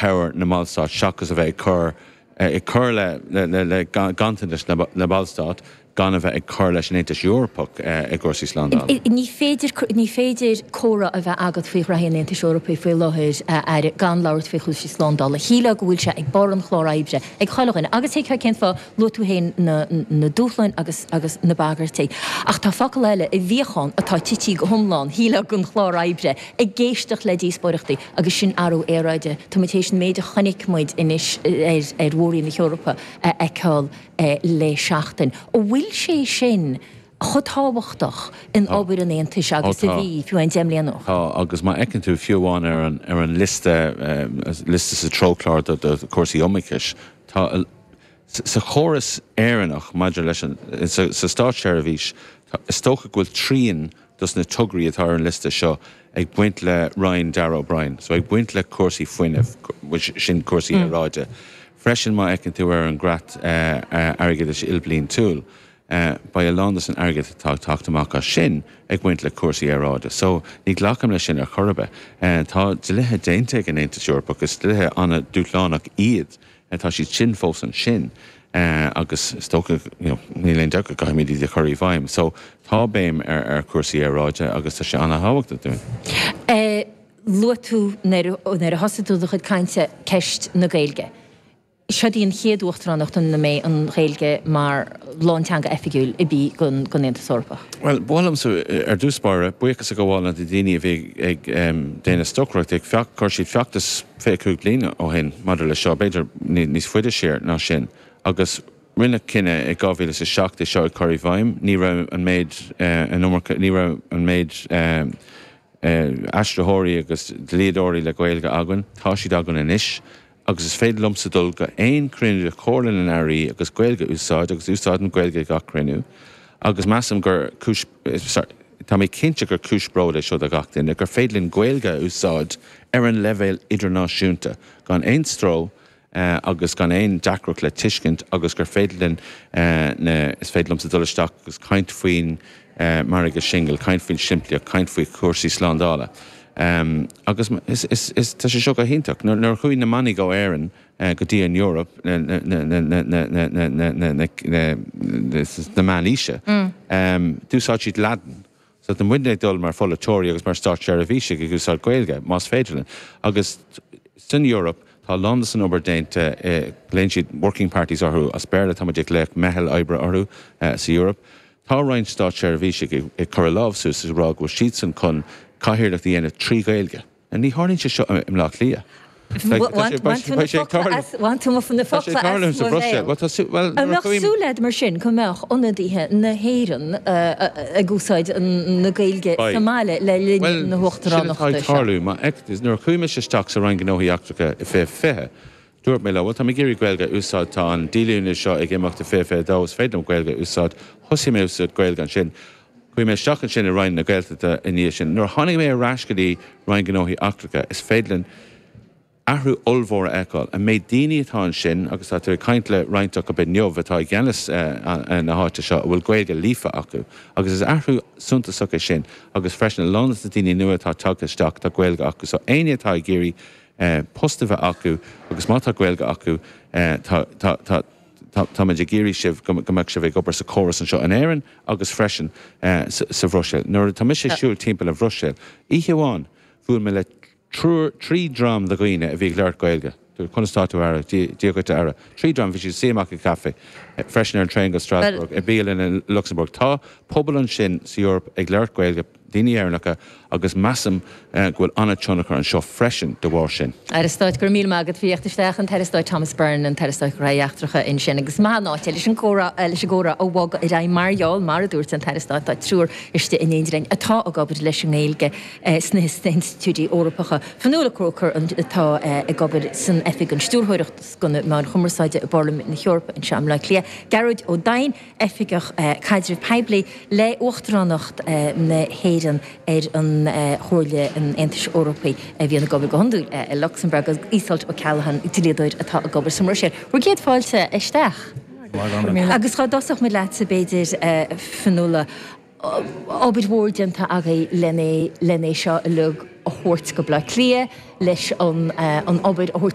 cabhair na mBallstát seachas a bheith ag cur ag cur le le ganntanais na mBallstát gan a bheith ag cur leis an Aontas Eorpach i gcúrsaí slándála. Ní féidir ní féidir comhrá a bheith agat faoi ghraithí an Aontais Eorpaigh faoi láthair, a Aire, gan labhairt faoi chúrsaí slándála. Shílfeá go bhfuil sé ag barr an chláir oibre ag chuile dhuine agus thuigfeá cén fáth, luaigh tú féin na na dúshláin agus agus na bagairtí. Ach tá focal eile i bhfíochán atá tití go hiomlán, shílfeá, den chlár oibre, ag éisteacht le díospóireachtaí agus sin athrú aeráide. Tá muid théis an méid a chonaic muid anois ar ar mhór-roinn na hEorpa a fheiceáil le seachtain. An bhfuil sé sin chomh tábhachtach in obair an Aontais agus a bhí, fiú amháin 10 mbliana ó Tá, agus má fheiceann tú fiú amháin ar an ar an liosta, liosta sa treochlár do do chúrsaí iomaíochais, tá sa chóras Éireannach maidir leis an, sa sa státseirbhís, tá, is dócha go bhfuil trian dos na tograí atá ar an liosta seo ag baint le Roinn Darragh O'Brien, so ag baint le cúrsaí fuinnimh, which sin cúrsaí aeráide. Freisin má fheiceann tú ar an gcreat airgeadais ilbhliantúil, beidh a lán dos an airgead atá ag teacht amach as sin ag baint le cúrsaí aeráide. So ní ghlacaim leis sin ar chor ar bith. Tá dlíthe déanta ag an Aontas Eorpach, is dlíthe an-dúshlánach iad Tá siad sin fós ansin agus is dócha, you know, níl aon dabht go gcaithfimid iad a chur i bhfeidhm. So tá béim ar ar chúrsaí aeráide agus tá sé an-thábhachtach dúinn. Luaigh tú nuair a thosaigh tú do chuid cainte ceist na Gaeilge. Seod í an chéad uachtaránacht ina mbeidh an Ghaeilge mar lánteanga oifigiúil i bí den Aontas Eorpach. Bhuel, ba mhaith liomsa, ar dtús báire, buíochas a ghabháil le na daoine a bhí ag déanamh stocaireacht, ag chuir siad feachtas 25 bliain ó shin maidir leis seo, b'fhéidir níos faide siar ná sin, agus rinneadh cinneadh i 2007 é seo a chur i bhfeidhm. Ní raibh an méid, an iomarca, ní raibh an méid aistritheoirí agus dlíodóirí le Gaeilge againn. Tá siad againn anois agus is féidir liomsa dul go aon chruinniú de Chomhairle na nAirí agus Gaeilge a úsáid agus úsáidim Gaeilge ag gach cruinniú agus measaim gur cúis, sorry, tá mé cinnte gur cúis bróid é seo do gach duine, gur féidir linn Gaeilge a úsáid ar an leibhéal idirnáisiúnta gan aon stró agus gan aon deacracht le tuiscint agus gur féidir linn na, is féidir liomsa dul isteach agus caint faoin margadh singil, caint faoin simplíocht, caint faoi chúrsaí slándála. Agus is, is, is, tá sé seo go hiontach. Nuair a chuaigh na manaigh ó Éirinn go dtí an Eoraip na, na, na, na, na, na, na, na, na, na, na, sna meánaoise, d'úsáid siad Laidin. So tá muidne ag dul mar pholaiteoirí agus mar státseirbhísigh ag úsáid Gaeilge, más féidir linn. Agus san Eoraip tá a lán de san obair déanta, glaonn siad working parties orthu as Béarla, tá muid ag glaoch meitheal oibre orthu sa Eoraip. Tá roinnt státseirbhísigh ag cur a lámh suas is ag rá go bhfuil siadsan chun cathaoirleacht a dhéanamh trí Ghaeilge. Ní tharlaíonn sé seo i mBleá Cliath. Bhain tú na focla as mo bhéal. An mbeadh súil agat mar sin go mbeadh ionadaithe na hÉireann ag úsáid na Gaeilge sa mbaile le linn na huachtaránachta seo? Nuair a chuaigh mise isteach sa Roinn Gnóthaí Eachtracha i 2020, Dúirt mé leo, bhuel, tá mé ag iarraidh Gaeilge a úsáid, tá an díolúine seo ag imeacht i 2022, is féidir liom Gaeilge a úsáid. Thosaigh mé ag úsáid Gaeilge ansin. Chuaigh mé isteach ansin i Roinn na Gaeltachta i ndiaidh sin. Nuair a tháinig mé ar ais go dtí Roinn Gnóthaí Eachtracha, is féidir linn athrú ollmhór a fheiceáil. An méid daoine atá ansin, agus tá tú ag caint le roinnt acu inniu atá i gceannas na háite seo, a bhfuil Gaeilge líofa acu. Agus is athrú suntasach é sin. Agus freisin, a lán de na daoine nua atá tagtha isteach, tá Gaeilge acu. So éinne atá ag iarraidh post a bheith acu agus má tá Gaeilge acu tá tá tá tá táimid ag iarraidh sibh go mbeadh sibh ag obair sa chóras anseo in Éirinn agus freisin sa Bhruiséil. Nuair atá mise ag siúl timpeall an Bhruiséil, oíche amháin bhuail mé le triúr, trí dhream de dhaoine a bhí ag labhairt Gaeilge. Conas tá tú a Aire? Dia dhuit a Aire. Trí dhream, bhí siad ag suí amach i gcaife, freisin ar an traein go Strasbourg, i bialann i Lucsamburg. Tá pobal ansin sa Eoraip ag labhairt Gaeilge. daoine Éireannacha agus measaim go bhfuil an-tionchar anseo freisin de bharr sin. Aire Stáit, go raibh míle maith agat faoi theacht isteach, an tAire Stáit Thomas Byrne, an tAire Stáit Gnóthaí Eachtracha ansin agus maith an áit é leis an gcomhrá leis an gcomhrá a bhogadh ar aghaidh mar gheall, mar a dúirt an Taire Stáit, tá triúr istigh in éindí linn atá ag obair leis an nGaeilge sna hinstitiúidí Eorpacha. Fionnuala Croker atá ag obair san Oifig an Stiúrthóireacht do na Meáin Chumarsáide i bParlaimint na hEorpa anseo i mBleá Cliath. Gearóid Ó Doinn, Oifigeach Caidrimh Poiblí le Uachtaránacht na hÉireann ar an Chomhairle an Aontais Eorpaigh a bhíonn ag obair go hiondúil i Lucsamburg, agus Iseult O'Callaghan, dlíodóir atá ag obair sa mBruiséil. Bhur gcéad fáilte isteach. Agus dhá dtosódh muid leatsa b'fhéidir, Fionnuala, obair mhór déanta agaibh len é seo uilig a thabhairt go Bleá Cliath, leis an obair a thabhairt.